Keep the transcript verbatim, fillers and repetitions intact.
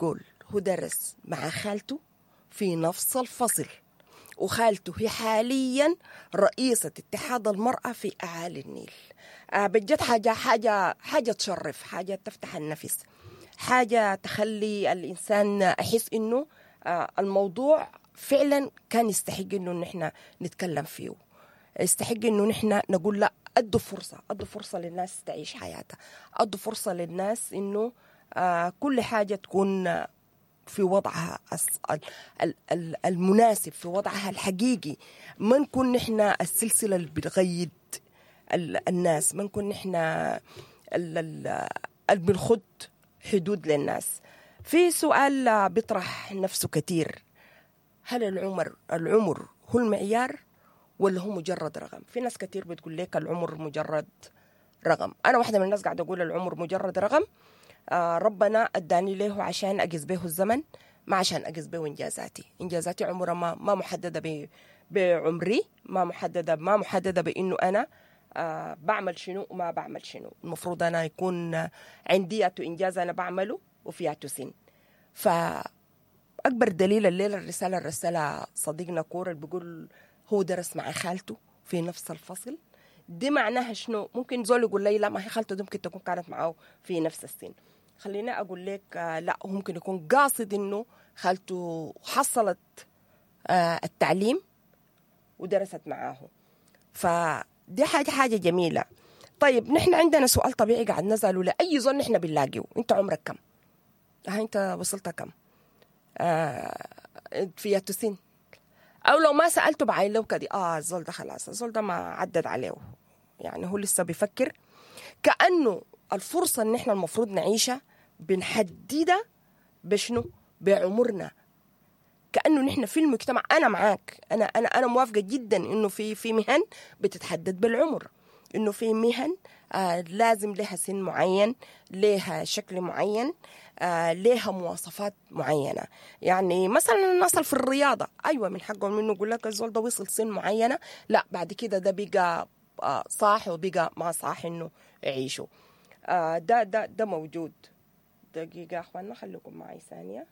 بيقول هو درس مع خالته في نفس الفصل، وخالته هي حاليا رئيسة اتحاد المرأة في أعالي النيل. آه بجد حاجة حاجة حاجة تشرف، حاجة تفتح النفس، حاجة تخلي الإنسان أحس إنه آه الموضوع فعلا كان يستحق إنه نحن نتكلم فيه، يستحق إنه نحن نقول لا، أدوا فرصة، أدوا فرصة للناس تعيش حياتها، أدوا فرصة للناس إنه آه كل حاجة تكون في وضعها المناسب، في وضعها الحقيقي. ما نكون نحن السلسلة اللي بتغيد الناس، ما نكون نحن اللي بنخد حدود للناس. في سؤال بيطرح نفسه كتير، هل العمر العمر هو المعيار ولا هو مجرد رقم؟ في ناس كتير بتقول لك العمر مجرد رقم. أنا واحدة من الناس قاعدة أقول العمر مجرد رقم. آه ربنا أداني له عشان أقيس به الزمن، ما عشان أقيس به إنجازاتي. إنجازاتي عمرها ما ما محددة بعمري، ما محددة ما محددة بإنه أنا آه بعمل شنو وما بعمل شنو. المفروض أنا يكون عندي إنجاز أنا بعمله وفياتو سن. فأكبر دليل الليلة الرسالة الرسالة صديقنا كور اللي بيقول هو درس مع خالته في نفس الفصل. دي معناها شنو؟ ممكن زول يقول لي لا، ما هي خالته دي ممكن تكون كانت معه في نفس السن. خليني أقول لك آه لا، هو ممكن يكون قاصد إنه خالته حصلت آه التعليم ودرست معاه، فدي حاجة حاجة جميلة. طيب نحن عندنا سؤال طبيعي قاعد نسأله لأي زول نحن بنلاقيه، أنت عمرك كم؟ ها أنت وصلت كم؟ آه في سن؟ أو لو ما سألته بعين لو كدي آه الزول ده خلاص، الزول ده ما عدد عليه، يعني هو لسه بيفكر. كأنه الفرصة اللي نحن المفروض نعيشها بنحددها بشنو؟ بعمرنا. كأنه نحن في المجتمع، أنا معاك، أنا أنا أنا موافقة جدا إنه في في مهن بتتحدد بالعمر، إنه في مهن آه لازم لها سن معين، لها شكل معين، آه لها مواصفات معينة. يعني مثلا الناس في الرياضة، أيوة من حقهم إنه يقول لك الزول ده وصل سن معينة، لا بعد كده ده بقى آه صاح وبقى ما صاح إنه يعيشوا. آه ده ده ده موجود. دقيقة أخواننا خليكم معي ثانية.